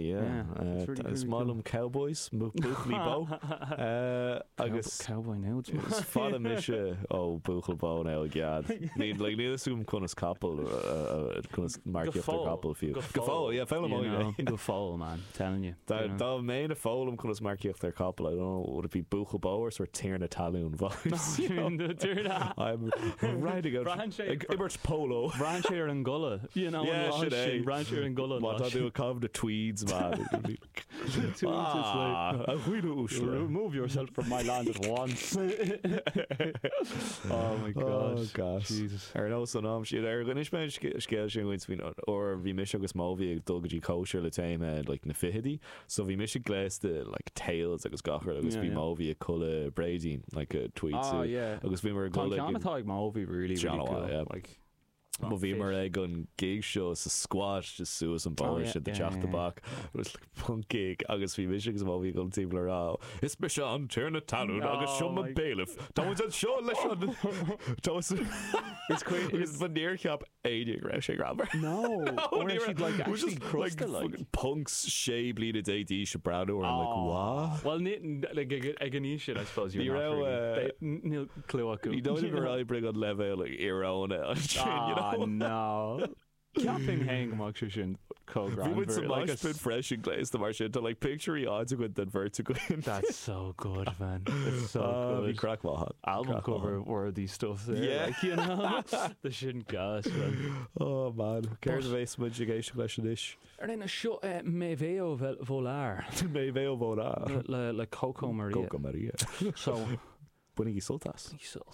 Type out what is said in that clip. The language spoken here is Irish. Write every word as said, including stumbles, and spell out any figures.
yeah. Yeah, Uh, it's really, Is really maith cool. liom cowboys, buachaillí bó. Uh, agus Cowboy nudes. Is fada mise ó buachaill bó nó i gcead. Ní like, níl fhios agam conas capall uh, uh, conas marcaíocht ar capall fiú. Go Go fóill, yeah, You foghlaim know, go fóill, man. Telling you. Dá you know. dá mbeinn ag foghlaim conas marcaíocht ar capall, I don't know, would it be buachaill bó or sort tiarna talún vibes? you know? I'm riding out Braitheann sé- ag imirt polo. Braitheann sé ar an gculaith, you know, Yeah, an lá sin é. sin, braitheann sé ar an gculaith. Má an tá lá tú ag caitheamh na tweeds, man. It would be like, sin. Tweeds, it's like, Ah, a dhaoine uaisle. Remove yourself from my land at once. oh my Oh, god. gosh. Jesus. Ar nós an am siad ar d'inis mé scéal sin dhuit faoin uair bhí mise agus Móbhí ag dul go dtí cóisir le téama like, na fichidí, so bhí mise gléasta like, tails agus gach rud agus Yeah, bhí yeah. Móbhí ag culaith bréidín like a tweed Oh suit. yeah. agus bhí mar Tá ag ceann atá ag Móbhí really, John really cool. Awai, yeah. Like, Má bhí mar ag an gig seo sa squat just suas an Oh, bóthar yeah, sin de yeah, teach yeah, tobac was like punk gig agus bhí mise agus Móbhí ag timpeall rá Is mise an tiarna talún agus Oh seo my- bailiff Tá an seo leis an It's quite- agus ba níor cheap éinne go raibh sé greannmhar. No. Or ní she'd raibh- like it was actually just, crossed like, like. fucking punks sé bliana déag d'aois ag breathnú orm like Oh. what? Well, ní, like, ag ag an aois sin, I suppose Ní you're not raibh, really. uh, They- n- Níl clue acu. Ní dóigh gur oibrigh an leibhéal like, íoróine ansin, you Ah, know? no. Ceapaim féin go mbeadh sé sin chomh Bhí muid sa greannmhar, like a mosh pit freisin gléasta mar sin tá like pictiúirí áit againn den bheirt againn. That's so good, man. It's so Ah, Bhí good. craic mhaith. Album Craic cover worthy stuff there. Yeah. Like, you know, the sin gas, man. Oh man, Céard a bheas muid ag éisteacht leis anois? Ar aon seo eh, Me Veo Volar Me Veo Volar. le, le Coco Maria. Coco Maria. So, Bainigí sult as. sult.